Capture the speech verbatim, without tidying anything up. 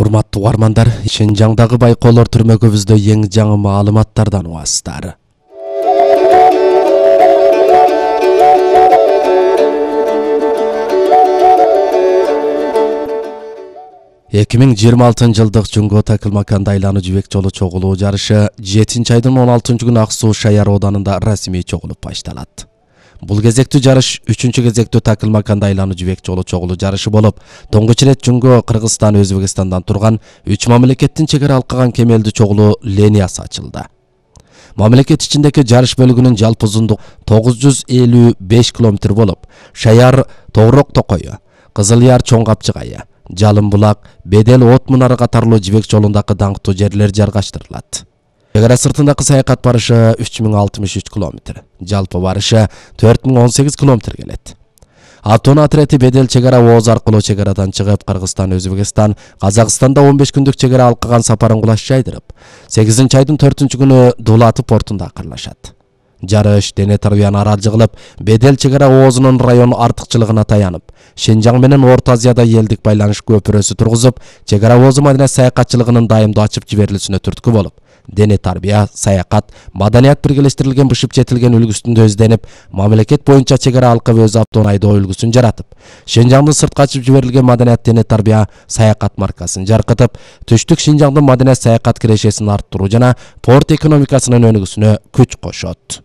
Урматтуу угармандар, Шинжаңдагы байкоолор түрмөгүбүздө эң жаңы маалыматтардан угасыздар. эки миң жыйырма алтынчы жылдык Жунго Такылмаканда айлануу жибек жолу чогулуу жарышы жетинчи айдын он алтынчы күнү Ак Суу Шаяр ооданында расмий чогулуп башталат. Бул кезектүү жарыш үчүнчү кезектүү Такылмаканда айлануу жибек жолу чогулуу жарышы болуп, тоңгуч ирет Жунго, Кыргызстан, Өзбекстандан турган үч мамлекеттин чегара алкаган кемелдүү чогулуу линиясы ачылды. Мамлекет ичиндеги жарыш бөлүгүнүн жалпы узундугу тогуз жүз элүү беш километр болуп, Шаяр Тоорок Токою, Кызыл Яр Чоң Капчыгайы, Жалын Булак, Бедел От Мунары катарлуу жибек жолундагы даңктуу жерлер жаргаштырылат. Чегара сыртындагы саякат барышы үч миң алтымыш үч километр, жалпы барышы төрт миң он сегиз километр келет. Автоунаа отряды Бедел чегара ооз аркылуу чегарадан чыгып, Кыргызстан, Өзбекстан, Казакстанда он беш күндүк чегара алкаган сапарын кулаш жайдырып, сегизинчи айдын төртүнчү күнү Дулаты портунда акырлашат. Жарыш дене тарбияны аралжы кылып, Бедел чегара оозунун район артыкчылыгына таянып, Шинжаң менен Орто Азияда элдик байланыш көпүрөсү тургузуп, чегара оозу маданият саякатчылыгынын дайымдуу ачып жиберилүүсүнө түрткү болуп, дене тарбия, саякат, маданият биргелештирилген бышып жетилген үлгүсүндө изденип, мамлекет боюнча чегара алкып өз автоунаа айдоо үлгүсүн жаратып, Шинжаңдын сыртка ачып жиберилген маданият дене тарбия, саякат маркасын жаркытып, түштүк Шинжаңдын маданият саякат кирешесин арттыруу жана порт экономикасынын өнүгүүсүнө күч кошот.